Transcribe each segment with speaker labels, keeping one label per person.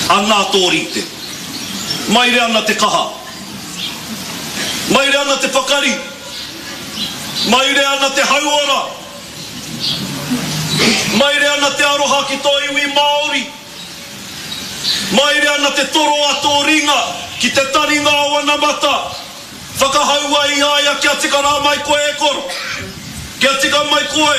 Speaker 1: Anā tō rite. Maire ana te kaha. Maire ana te pakari. Maire ana te hauora. Maire ana te aroha ki tō iwi Māori. Maire ana te toro a tō ringa ki te taringa o anamata. Whakahaua i a ia kia tika rā mai koe e koro. Kia tika mai koe.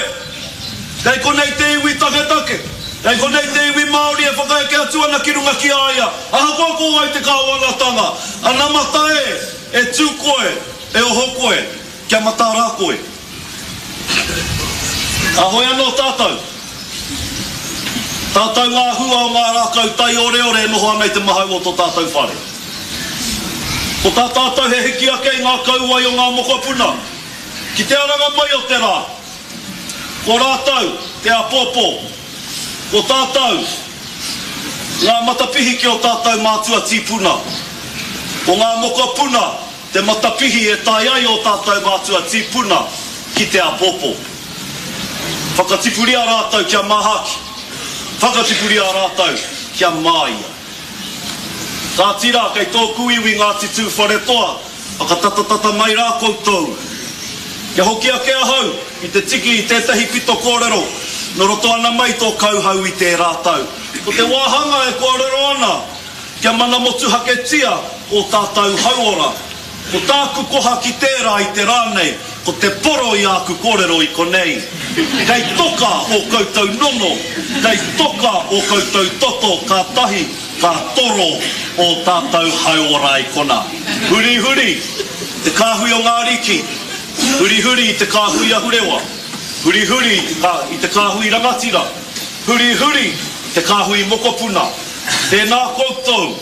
Speaker 1: Kei konei te iwi taketake. Kei konei te iwi Māori e whakaeke atu ana ki runga ki a ia. Ahakoa ko wai te kāwanatanga, anamata e, e tū koe, e oho koe, kia mataara koe. Ka hoe anō tātou. Tātou ngā hua o ngā rākau taioreore e noho ana i te mahau o tō tātou whare. Ko tā tātou he hiki ake i ngā kauae o ngā mokopuna ki te aranga mai o te rā. Ko rātou te āpōpō. Ko tātou ngā matapihi ki ō tātou mātua tīpuna. Ko ngā mokopuna Te matapihi e tae ai ō tātou mātua tīpuna ki te āpōpō. Whakatipuria rātou kia māhaki. Whakatipuria rātou kia māia. Kāti rā, kei tōku iwi Ngāti Tūwharetoa, whakatatatata mai rā koutou. Kia hoki ake ahau ki te tiki i tētahi pito kōrero nō roto ana mai tō kauhau i tērā tau. Ko te wāhanga e kōrero ana Kia mana motuhaketia ō tātou hauora. Ko tāku koha ki tērā i te rā nei, ko te poro i āku kōrero i konei. Kei toka ō koutou nono, kei toka ō koutou toto kātahi ka toro ō tātou hauora i konā. Hurihuri te kāhui o ngā ariki, hurihuri i te kāhui ahurewa, hurihuri i te kāhui rangatira, hurihuri te kāhui mokopuna. Tēnā koutou,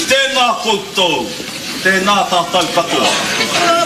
Speaker 1: tēnā koutou, tēnā tātou katoa.